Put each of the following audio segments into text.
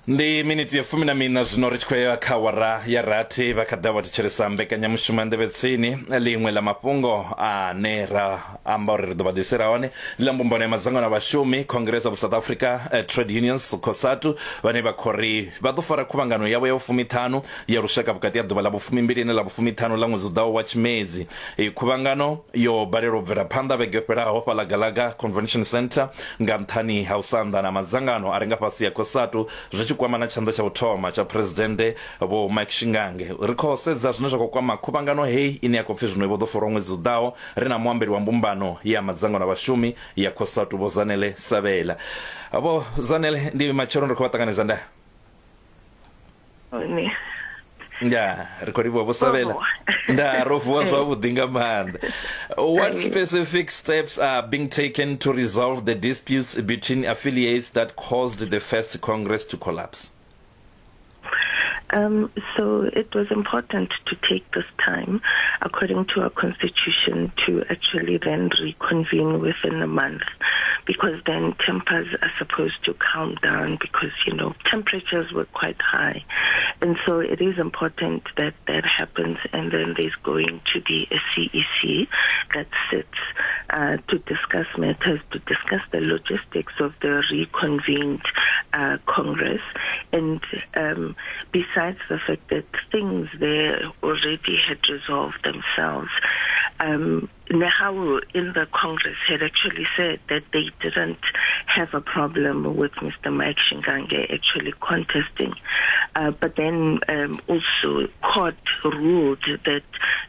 Ndi miniti ya fumi na miṋa zwino ri tshi khou ya kha awara ya rathi. Vha kha ḓa vha thetshelesa mbekanyamushumo ya Nḓevhe Tsini. Ḽiṅwe ḽa mafhungo ane ra amba uri ri ḓo vha ḓisela hone ndi ḽa mbumbano ya madzangano a vhashumi, Congress of South Africa Trade Unions, COSATU, vhane vha khou ri vha ḓo fara khuvhangano yavho ya vhufumiṱhanu ya lushaka vhukati ha ḓuvha ḽa vhufumimbili na ḽa vhufumiṱhanu ḽa ṅwedzi u ḓaho wa Tshimedzi. Iyi khuvhangano yo balelwa u bvela phanḓa vhege yo fhelaho fhaḽa Galaga Convention Centre nga nṱhani ha u sa anḓana ha madzangano a re nga fhasi ha COSATU zwi tshi kwama na tshanḓa tsha u thoma tsha Phresidennde Vho Mike Shingange. Ri khou sedza zwine zwa khou kwama khuvhangano heyi ine ya khou pfi zwino i vho ḓo farwa ṅwedzi u ḓaho ri na muambeli wa mbumbano ya madzangano a vhashumi ya COSATU Vho Zanele Sabela. Vho Zanele, ndi matsheloni ri khou vha ṱanganedza ndaa? Hone. Ya, ri khou livhuwa Vho Sabela. Nda ro vuwa zwavhuḓi nga maanḓa. What specific steps are being taken to resolve the disputes between affiliates that caused the first Congress to collapse? So it was important to take this time, according to our constitution, to actually then reconvene within a month, because then tempers are supposed to calm down because, you know, temperatures were quite high. And so it is important that that happens, and then there's going to be a CEC that sits to discuss matters, to discuss the logistics of the reconvened Congress. And besides the fact that things there already had resolved themselves, NEHAWU in the Congress had actually said that they didn't have a problem with Mr. Mike Shingange actually contesting. But then also court ruled that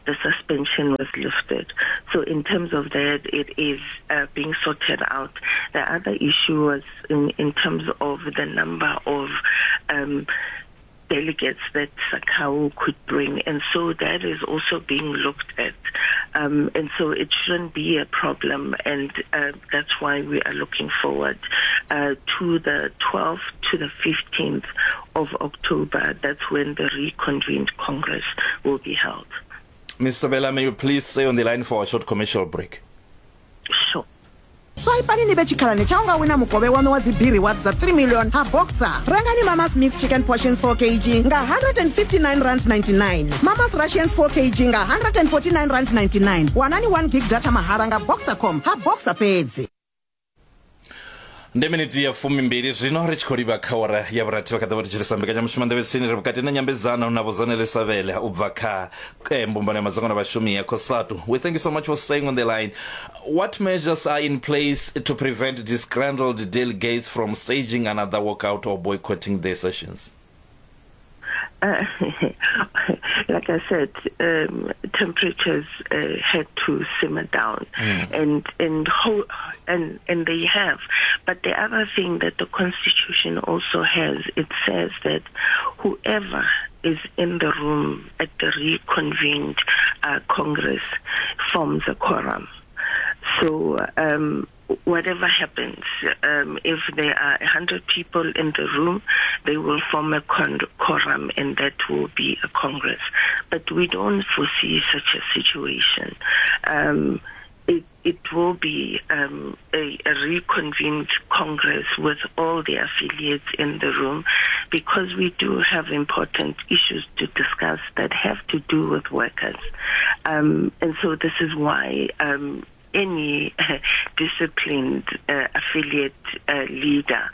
the suspension was lifted. So in terms of that, it is being sorted out. The other issue was in terms of the number of delegates that SACCAWU could bring, and so that is also being looked at. And so it shouldn't be a problem, and that's why we are looking forward to the 12th to the 15th of October. That's when the reconvened Congress will be held. Ms. Sabela, may you please stay on the line for a short commercial break? Sure. Swaipani ni vhe tshikhalani tsha u nga wina mukovhe waṋu wa dzi B-Rewards dza 3 million ha Boxer. Rengani Mama's Mixed Chicken Portions 4 kg nga R159.99, Mama's Russians 4 kg nga R149.99. Wanani 1 gig data mahala nga Boxercom ha Boxer fhedzi. Ndi miniti ya fumimbili zwino ri tshi khou livha kha awara ya vhurathi. Vha kha ḓi vha thetshelesa mbekanyamushumo Nḓevhe Tsini. Ri vhukati na nyambedzano na Vho Zanele Savele u bva kha mbumbano ya madzangano a vhashumi ya COSATU. We thank you so much for staying on the line. What measures are in place to prevent disgruntled delegates from staging another walkout or boycotting their sessions? Like I said, temperatures had to simmer down, and they have. But the other thing that the Constitution also has, it says that whoever is in the room at the reconvened Congress forms a quorum. So whatever happens, if there are 100 people in the room, they will form a quorum, and that will be a Congress. But we don't foresee such a situation. It will be a reconvened Congress with all the affiliates in the room, because we do have important issues to discuss that have to do with workers. And so this is why any disciplined affiliate leader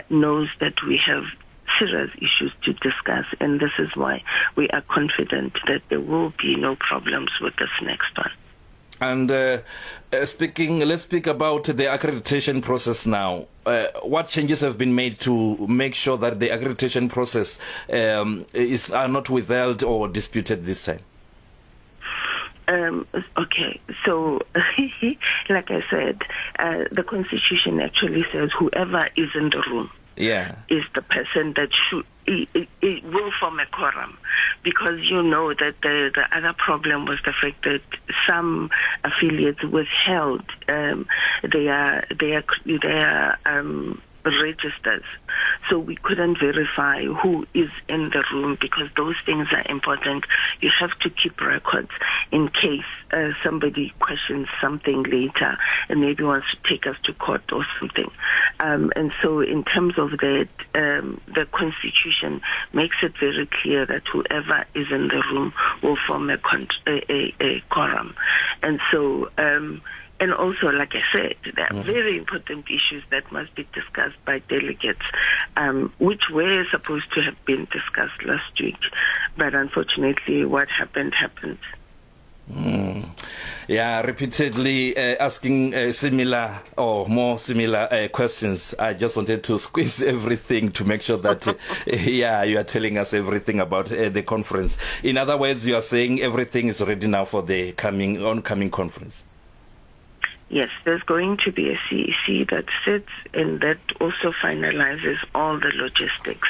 knows that we have serious issues to discuss, and this is why we are confident that there will be no problems with this next one. And let's speak about the accreditation process now. What changes have been made to make sure that the accreditation process are not withheld or disputed this time? Like I said, the Constitution actually says whoever is in the room is the person that should, it will form a quorum, because you know that the other problem was the fact that some affiliates withheld their registers. So we couldn't verify who is in the room because those things are important. You have to keep records in case somebody questions something later and maybe wants to take us to court or something. And so in terms of that, the Constitution makes it very clear that whoever is in the room will form a quorum. And so, and also, like I said, there are very important issues that must be discussed by delegates, which were supposed to have been discussed last week. But unfortunately, what happened, happened. Yeah, repeatedly asking similar or more similar questions. I just wanted to squeeze everything to make sure that, yeah, you are telling us everything about the conference. In other words, you are saying everything is ready now for the coming oncoming conference. Yes, there's going to be a CEC that sits and that also finalizes all the logistics,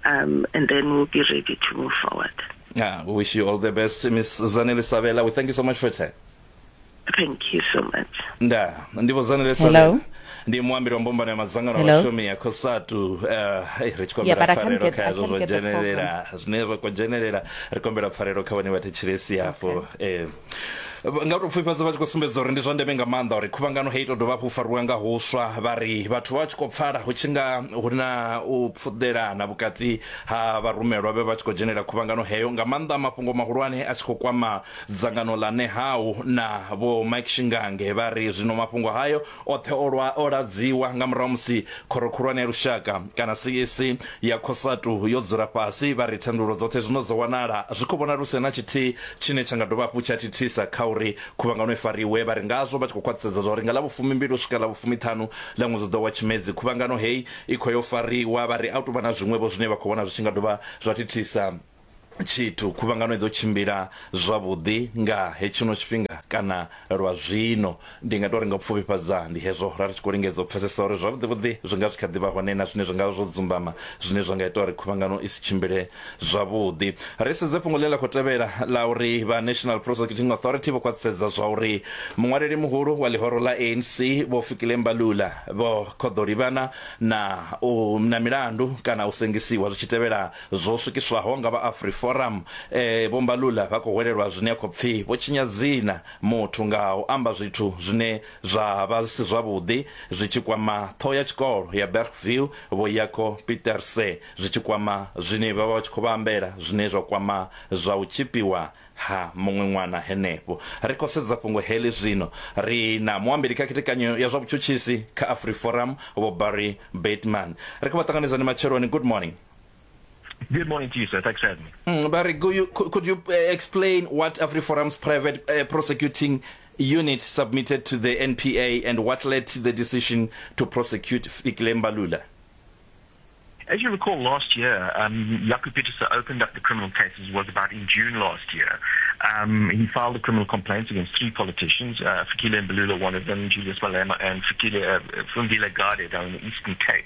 and then we'll be ready to move forward. Yeah, we wish you all the best, Ms. Zanele Sabela. We thank you so much for your time. Thank you so much. Nda, ndi vho Zanele Sabela. Ndi muambeli wa mbumbano ya madzangano a vhashumi ya COSATU. Ri tshi kombela pfarelo kha hezwo zwo dzhenelela zwine zwa khou dzhenelela, ri kombela pfarelo kha vhane vha thetshelesi hafho. Nga u tou pfufhifhadza vha tshi khou sumbedza uri ndi zwa ndeme nga maanḓa uri khuvhangano heyi tou dovha hafhu fariwa nga huswa, vha ri vhathu vha tshi khou pfala hu tshi nga hu na u pfuḓelana vhukati ha vharumelwa vhe vha tshi khou dzhenela khuvhangano heyo, nga maanḓa mafhungo mahulwane a tshi khou kwama dzangano ḽa Nehau na Vho Mike Shingange. Vha ri zwino mafhungo hayo oṱhe o lwa o ladziwa nga murahu musi khoro khulwane ya lushaka kana CEC ya COSATU yo dzula fhasi. Vha ri thandululo dzoṱhe zwino dzo wanala, zwi khou vhonala hu si na tshithihi tshine tsha nga dovha hafhu tsha thithisa kha uri khuvhangano i fariwe. Vha ri ngazwo vha tshi khou khwaṱhisedza zwa uri nga ḽa vhufumimbili u swika ḽa vhufumiṱhanu ḽa ṅwedzi u ḓaho wa Tshimedzi khuvhangano heyi i khou yo fariwa. Vha ri a hu tou vha na zwiṅwe-vho zwine vha khou vhona zwi tshi nga dovha zwa thithisa tshithu. Khuvhangano i ḓo tshimbila zwavhuḓi nga hetshino tshifhinga kana lwa zwino. Ndi nga tou ri nga u pfufhifhadza ndi hezwo ra ri tshi khou lingedza u pfesesa uri zwavhuḓi-vhuḓi zwi nga zwi kha ḓi vha hone na zwine zwi nga vha zwo dzumbama zwine zwa nga ita uri khuvhangano i si tshimbile zwavhuḓi. Ri sedze fhungo ḽine ḽa khou tevhela ḽa uri vha National Prosecuting Authority vho khwaṱhisedza zwa uri muṅwaleli muhulu wa ḽihoro ḽa ANC Vho Fikile Mbalula vho khou ḓo livhana na u na milandu kana u sengisiwa zwi tshi tevhela zwo swikiswaho nga vha AfriForum. Vho Mbalula vha khou hwelelwa zwine ya khou pfi vho tshinya dzina muthu nga u amba zwithu zwine zwa vha zwi si zwavhuḓi zwi tshi kwama ṱhoho ya tshikolo ya Bergview Vho Jaco Pieterse zwi tshi kwama zwine vha vha tshi khou vha ambela zwine zwa kwama zwa u tshipiwa ha muṅwe ṅwana henefho. Ri khou sedza fhungo heḽi zwino. Ri na muambeli kha khethekanyo ya zwa vhutshutshisi kha AfriForum Vho Barry Bateman. Ri khou vha ṱanganedza ni matsheloni. Good morning. Good morning to you, sir. Thanks for having me. Barry, could you explain what AfriForum's private prosecuting unit submitted to the NPA and what led to the decision to prosecute Fikile Mbalula? As you recall, last year, Jaco Pieterse opened up the criminal cases, was about in June last year. He filed a criminal complaint against three politicians, Fikile Mbalula, one of them, Julius Malema, and Fundile Gade down in the Eastern Cape.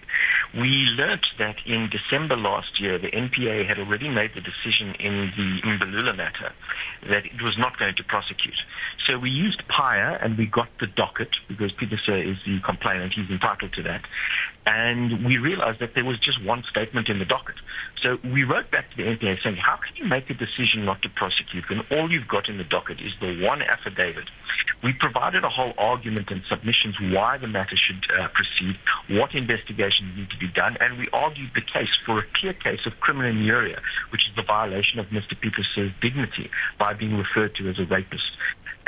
We learnt that in December last year, the NPA had already made the decision in the Mbalula matter that it was not going to prosecute. So we used PAIA and we got the docket, because Pieterse is the complainant, he's entitled to that. And we realized that there was just one statement in the docket. So we wrote back to the NPA saying, how can you make a decision not to prosecute when all you've got in the docket is the one affidavit? We provided a whole argument and submissions why the matter should proceed, what investigations need to be done, and we argued the case for a clear case of criminal injuria, which is the violation of Mr. Pieterse's dignity by being referred to as a rapist.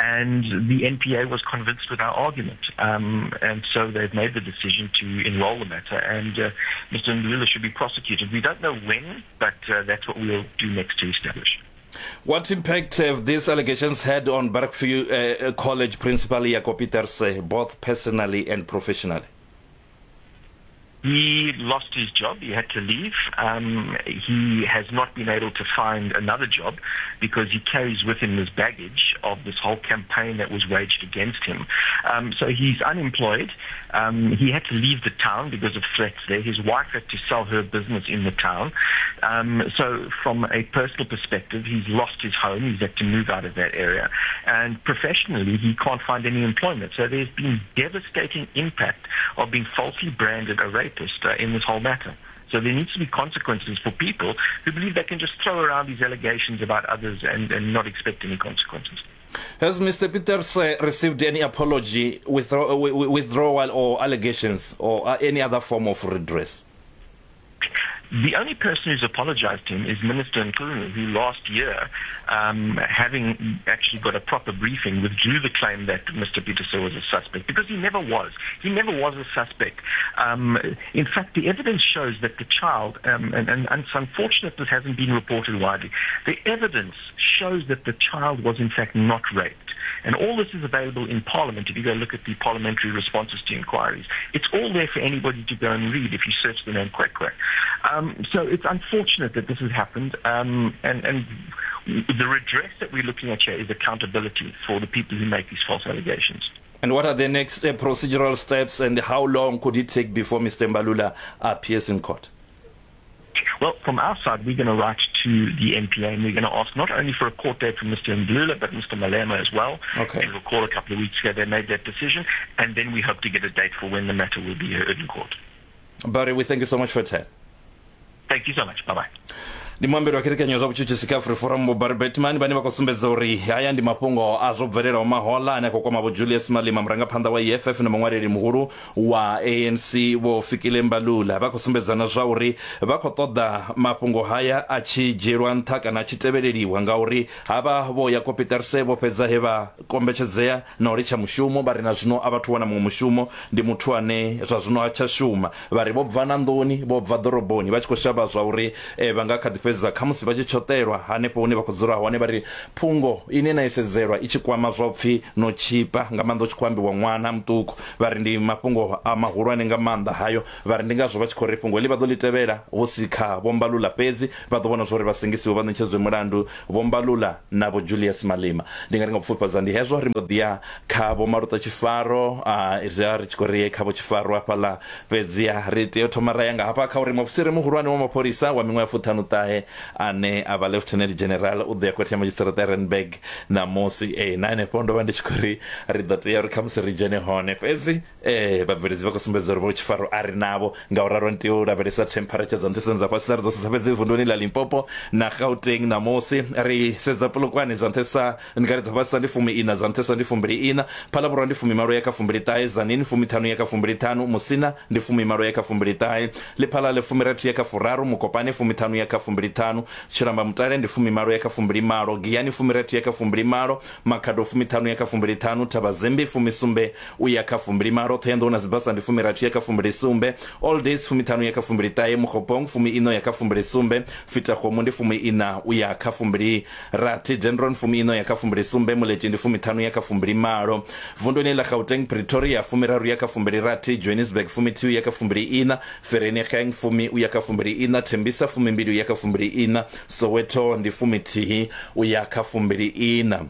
And the NPA was convinced with our argument. And so they've made the decision to enroll the matter, and Mr. Mbalula should be prosecuted. We don't know when, but that's what we'll do next to establish. What impact have these allegations had on Bergview College Principal Jaco Pieterse, both personally and professionally? He lost his job. He had to leave. He has not been able to find another job because he carries with him this baggage of this whole campaign that was waged against him. So he's unemployed. He had to leave the town because of threats there. His wife had to sell her business in the town. So from a personal perspective, he's lost his home. He's had to move out of that area. And professionally, he can't find any employment. So there's been devastating impact of being falsely branded a rapist. rapist in this whole matter. So there needs to be consequences for people who believe they can just throw around these allegations about others and, and not expect any consequences. Has Mr. Pieterse received any apology, withdrawal or allegations or any other form of redress? The only person who's apologized to him is Minister Mchunu, who last year, um, having actually got a proper briefing, withdrew the claim that Mr. Pieterse was a suspect, because he never was. He never was a suspect. Um, in fact, the evidence shows that the child, um, and, and, and it's unfortunate this hasn't been reported widely, the evidence shows that the child was in fact not raped. And all this is available in Parliament if you go look at the parliamentary responses to inquiries. It's all there for anybody to go and read if you search the name Kwekwe. Um, so it's unfortunate that this has happened, um, and, and the redress that we're looking at here is accountability for the people who make these false allegations. And what are the next uh, procedural steps and how long could it take before Mr. Mbalula appears in court? Well, from our side, we're going to write to the NPA and we're going to ask not only for a court date from Mr. Mbalula, but Mr. Malema as well. Okay. You recall a couple of weeks ago they made that decision, and then we hope to get a date for when the matter will be heard in court. Barry, we thank you so much for your time. Thank you so much. Bye-bye. Ndi muambeli wa khethekanyo zwa vhutshutshisi kha Afriforum Vho Barry Bateman vhane vha khou sumbedza uri haya ndi mafhungo a zwo bvelelaho mahoḽa ane a khou kwama Vho Julius Malema murangaphanḓa wa EFF na muṅwaleli muhulu wa ANC Vho Fikile Mbalula. Vha khou sumbedza na zwa uri vha khou ṱoḓa mafhungo haya a tshi dzhielwa nṱha kana a tshi tevheleliwa ngauri havha Vho Jaco Pieterse vho fhedza he vha kombetshedzea na u litsha mushumo vha ri na zwino a vhathu wana muṅwe mushumo ndi muthu ane zwa zwino ha tsha shuma. Vha ri vho bva na nḓuni, vho bva ḓoroboni vha tshi khou shavha zwa uri eh, vha nga kha ḓi fhedza khamusi vha tshi tshoṱelwa hanefho hune vha khou dzula hone. Vha ri phungo ine na i sedzelwa i tshi kwama zwa upfi no tshipa nga maanḓa hu tshi khou ambiwa ṅwana muṱuku. Vha ri ndi mafhungo a mahulwane nga maanḓa hayo. Vha ri ndi ngazwo vha tshi khou ri fhungo heḽi vha ḓo ḽi tevhela hu si kha Vho Mbalula fhedzi, vha ḓo vhona zwa uri vha sengisiwe vha ṋetshedzwe mulandu Vho Mbalula na Vho Julius Malema. Ndi nga ri nga u pfufhifhadza ndi hezwo, ri mbo ḓi ya kha Vho Maluta Tshifaro, a ri ri tshi khou ri ye kha Vho Tshifaro hafhaḽa Fhedziha ri tea u thoma ra ya nga hafha kha uri muofisiri muhulwane wa mapholisa wa miṅwaha ya fuṱhanu-ṱahe ane a vha Lieutenant General u ḓo ya khothe ya madzhisiṱiraṱa ya Randburg ṋamusi. Ee, na henefho ndo vha ndi tshi khou ri ri ḓo tea uri khamusi ri dzhene hone, fhedzi ee, vhabveledzi vha khou sumbedza uri vho tshifaro a ri navho, ngauralo ni tea u lavhelesa temperature dza nṱhesa na dza fhasisa. Ri ḓo sedza fhedzi vunduni ḽa Limpopo na Gauteng ṋamusi. Ri sedza Polokwane dza nṱhesa Ndi nga ri dza fhasisa ndi fumi-iṋa, dza nṱhesa ndi fumbili-iṋa. Phalavhurwa ndi fumimalo ya kha fumbili-ṱahe, Tzaneen fumiṱhanu ya kha fumbili-ṱhanu, Musina ndi fumimalo ya kha fumbili-ṱahe, Lephalale fumirathi ya kha furaru, Mokopane fumiṱhanu ya kha fumbili-ṱhanu, Tshilamba-Mutale ndi fumimalo ya kha fumbili-malo, Giyani fumirathi ya kha fumbili-malo, Makhado fumiṱhanu ya kha fumbili-ṱhanu, Thabazimbi fumisumbe u ya kha fumbili-malo, Thohoyandou na Sibasa ndi fumirathi ya kha fumbili-sumbe, Alldays fumiṱhanu ya kha fumbili-ṱahe, Mokgopong fumi-iṋa u ya kha fumbili-sumbe, Fetakgomo ndi fumi-iṋa u ya kha fumbili Rathi, Dendron fumi-iṋa uya kha fumbili-sumbe, Muletši ndi fumiṱhanu uya kha fumbili-malo. Vunduni ḽa Gauteng, Pretoria fumiraru uya kha fumbili-rathi, Johannesburg fumithihi uya kha fumbili-iṋa, Vereeniging fumi uya kha fumbili-iṋa, Tembisa fumimbili uya kha fumbili-iṋa, Soweto ndi fumithihi uya kha fumbili-iṋa.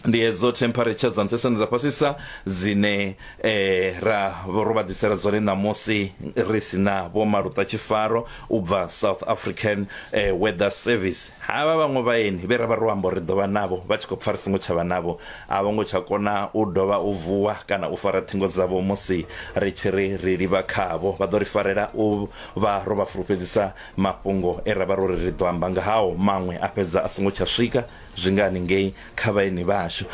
Ndi hedzo temperature dza nṱhesa na dza fhasisa dzine eh, ra ro vha ḓisela dzone ṋamusi ri si na Vho Maluta Tshifaro u bva South African eh, Weather Service. Havha vhaṅwe vhaeni vhe ra vha ro amba uri ri ḓo vha navho vha tshi khou pfa ri songo tsha vha navho, a vho ngo tsha kona u dovha u vuwa kana u fara ṱhingo dzavho musi ri tshi ri ri livha khavho. Vha ḓo ri farela u vha ro vha fulufhedzisa mafhungo e ra vha ro ri ri ḓo amba nga hao, maṅwe a fhedza a songo tsha swika. Zwi nga haningei kha vhaeni vhashu.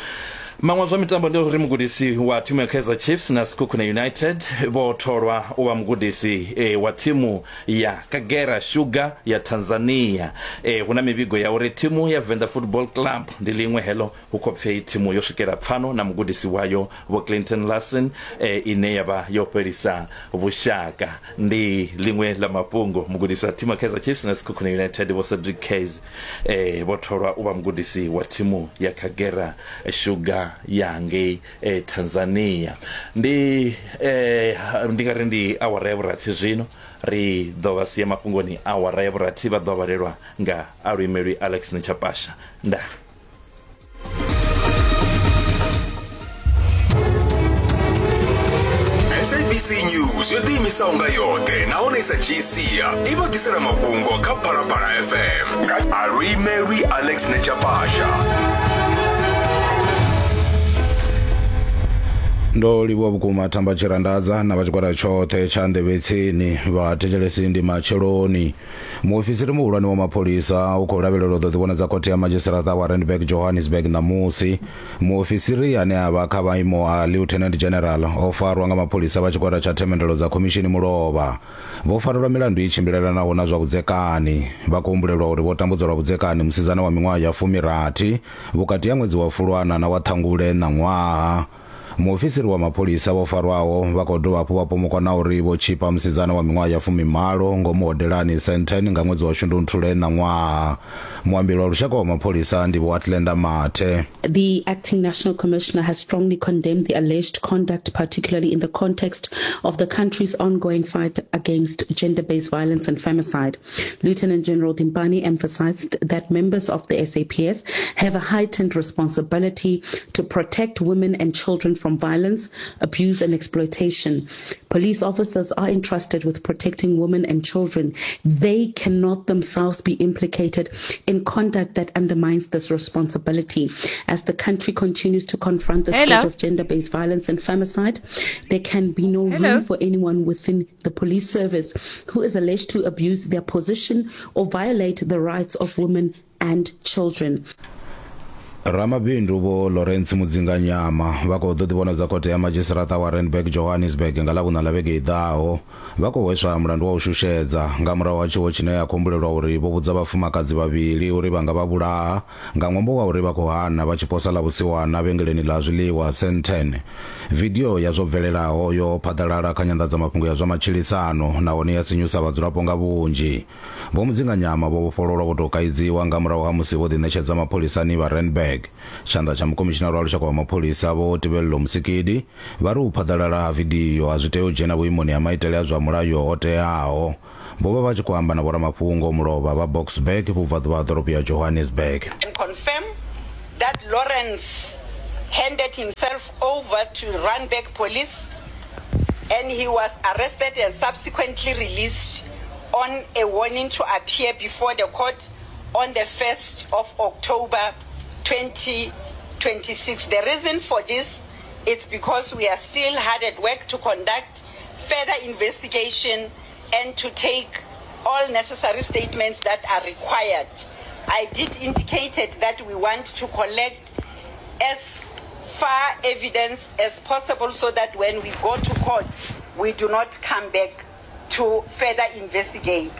Maṅwe a zwa mitambo ndi uri mugudisi wa thimu ya Kaizer Chiefs na Sekhukhune United vho tholwa u vha mugudisi e, wa thimu ya Kagera Sugar ya Tanzania. E, hu na mivhigo ya uri thimu ya Venda Football Club ndi ḽiṅwe heḽo hu khou pfi thimu yo swikela pfano na mugudisi wayo Vho Clinton Larsen e, ine ya vha yo fhelisa vhushaka. Ndi ḽiṅwe ḽa mafhungo mugudisi wa thimu ya Kaizer Chiefs na Sekhukhune United Vho Cedric Kaze eh, vho tholwa u vha mugudisi wa thimu ya Kagera Sugar ya ngei eh, Tanzania. Ndi eh, ndi nga ri ndi awara ya vhurathi zwino ri ḓo vha sia mafhungoni awara ya vhurathi vha ḓo vhalelwa nga aluimelwi Alex Nechapasha. Ndaa. SABC News yo ḓiimisaho nga yoṱhe nahone i sa dzhii sia i vha ḓisela mafhungo kha Phalaphala FM nga aluimelwi Alex Nechapasha. Ndo livhuwa vhukuma Thamba Tshirandadza na vha tshigwada tshoṱhe tsha Nḓevhetsini. Vhathetshelesi ndi matsheloni. Muofisiri muhulwane wa mapholisa u khou lavhelelwa u ḓo ḓivhonadza khothe ya madzhisiṱiraṱa wa Randburg Johannesburg ṋamusi. Muofisiri ane a vha kha maimo a Lieutenant General o farwa nga mapholisa vha tshigwada tsha themendelo dza khomishini mulovha. Vho farelwa milandu i tshimbilelanaho na zwa vhudzekani. Vha khou humbulelwa uri vho tambudza lwa vhudzekani musidzana wa miṅwaha ya fumirathi vhukati ha ṅwedzi wa Fulwana na wa Ṱhangule ṋaṅwaha. Muofisiri wa mapholisa vho farwaho vha khou dovha hafhu vha pomokwa na uri vho tshipa musidzana wa miṅwaha ya fumimalo ngomu hodelani Sandton nga ṅwedzi wa Shundunthule ṋaṅwaha. Muambeli wa lushaka wa mapholisa ndi Vho Athlenda Mathe. The acting national commissioner has strongly condemned the alleged conduct, particularly in the context of the country's ongoing fight against gender-based violence and femicide. Lieutenant General Dimpane emphasized that members of the SAPS have a heightened responsibility to protect women and children from violence, abuse and exploitation. Police officers are entrusted with protecting women and children. They cannot themselves be implicated in conduct that undermines this responsibility. As the country continues to confront the scourge of gender-based violence and femicide, there can be no Hello. room for anyone within the police service who is alleged to abuse their position or violate the rights of women and children. Ramabindu Vho Lawrence Mudzinganyama vha khou ḓo ḓivhonadza khothe ya madzhisiṱiraṱa wa Randburg Johannesburg nga Ḽavhuṋa ḽa vhege i ḓaho. Vha khou hweswa mulandu wa u shushedza nga murahu ha tshiwo tshine ya khou humbulelwa uri vho vhudza vhafumakadzi vhavhili uri vha nga vha vhulaha nga ṅwambo wa uri vha khou hana vha tshi posa ḽa vhusiwana vhengeleni ḽa zwiḽiwa Sandton. Vidio ya zwo bvelelaho yo phaḓalala kha nyanḓadzamafhungo ya zwa matshilisano nahone ya sinyusa vhadzulapo nga vhunzhi. Vho Mudzinganyama vho vhofhololwa vho tou kaidziwa nga murahu ha musi vho ḓiṋetshedza mapholisani vha Randburg. Tshanḓa tsha mukomishinara wa lushaka wa mapholisa Vho Tebello Mosikili vha ri u phaḓalala ha vidio a zwi tei u dzhena vhuimoni ha maitele a zwa mulayo ho teaho. Vho vha vha tshi khou amba na vhoramafhungo mulovha vha Boksburg vhubvaḓuvha ha ḓorobo ya Johannesburg. Can confirm that Lawrence handed himself over to Randburg police and he was arrested and subsequently released on a warning to appear before the court on the 1st of October 2026. The reason for this is because we are still hard at work to conduct further investigation and to take all necessary statements that are required. I did indicate that we want to collect as far evidence as possible so that when we go to court, we do not come back to further investigate.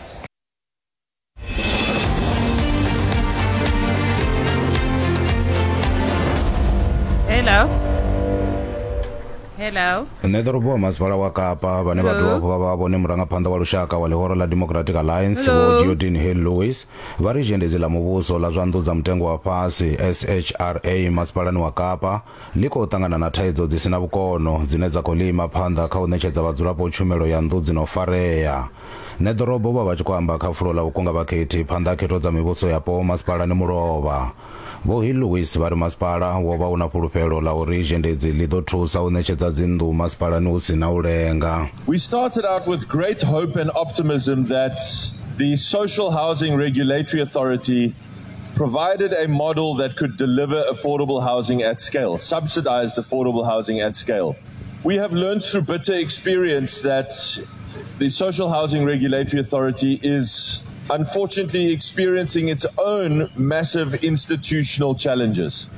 Hello. Hello. Nṋe ḓorobo wa masipala wa Kapa vhane vha dovha hafhu vha vha vhone murangaphanḓa wa lushaka wa ḽihoro ḽa Democratic Alliance Vho Geordin Hill Lewis vha ri zhendedzi ḽa muvhuso ḽa zwa nnḓu dza mutengo wa fhasi SHRA masipalani wa Kapa ḽi khou ṱangana na thaidzo dzi si na vhukono dzine dza khou ḽi ima phanḓa kha u ṋetshedza vhadzulapo tshumelo ya nnḓu dzi no farea. Ṋeḓorobo vha vha tshi khou amba kha fulo ḽa u kunga vhakhethi phanḓa ha khetho dza mivhuso yapo masipalani mulovha. Vho Hill Lewis vha ri masipala wo vha u na fhulufhelo ḽa uri zhendedzi ḽi ḓo thusa u ṋetshedza dzinnḓu masipalani hu si na u lenga. We started out with great hope and optimism that the Social Housing Regulatory Authority provided a model that could deliver affordable housing at scale, subsidized affordable housing at scale. We have learned through bitter experience that the Social Housing Regulatory Authority is unfortunately experiencing its own massive institutional challenges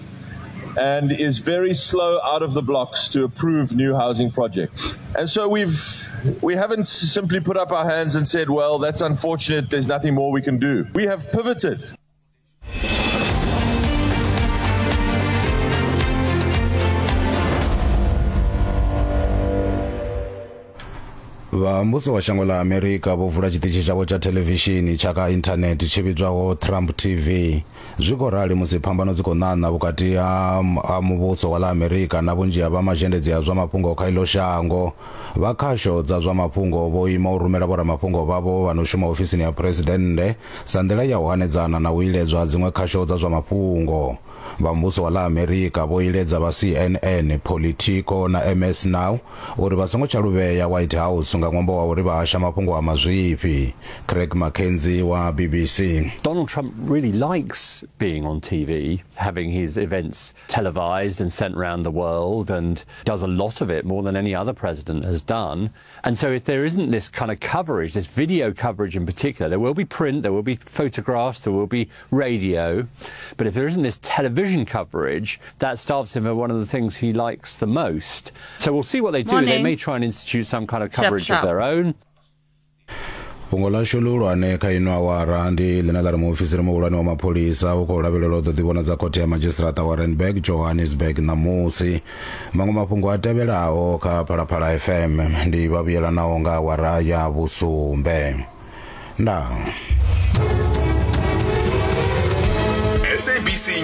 and is very slow out of the blocks to approve new housing projects. And so we've we haven't simply put up our hands and said, well, that's unfortunate, there's nothing more we can do. We have pivoted. Vha muvhuso wa shango ḽa Amerika vho vula tshiṱitshi tshavho tsha thelevishini tsha kha inthanethe tshi vhidzwaho Trump TV. Zwi khou rali musi phambano dzi khou ṋaṋa vhukati ha ha muvhuso wa ḽa Amerika na vhunzhi ha vha mazhendedzi a zwa mafhungo kha iḽo shango. Vha khasho dza zwa mafhungo vho ima u rumela vhoramafhungo vhavho vha no shuma ofisini ya Phresidennde sa nḓila ya u hanedzana na u iledzwa ha dziṅwe khasho dza zwa mafhungo. Vha muvhuso wa ḽa Amerika vho iledza vha CNN, Politico na MS Now uri vha songo tsha lu vhea White House. nga ṅwambo wa uri vha hasha mafhungo a mazwifhi. Craig Mackenzie wa BBC. Donald Trump really likes being on TV, having his events televised and sent round the world, and does a lot of it more than any other president has done. And so if there isn't this kind of coverage, this video coverage in particular, there will be print, there will be photographs, there will be radio, but if there isn't this television coverage, that starves him of one of the things he likes the most. So we'll see what they do. Morning. They may try and institute some kind of coverage Sharp, of their own. Fhungo ḽashu ḽihulwane kha ino awara ndi ḽine ḽa ri muofisiri muhulwane wa mapholisa u khou lavhelelwa u ḓo ḓivhonadza khothe ya madzhisiṱiraṱa wa Randburg Johannesburg ṋamusi. Maṅwe mafhungo a tevhelaho kha Phalaphala FM ndi vha vhuyelanaho nga awara ya vhusumbe. Ndaa. SABC.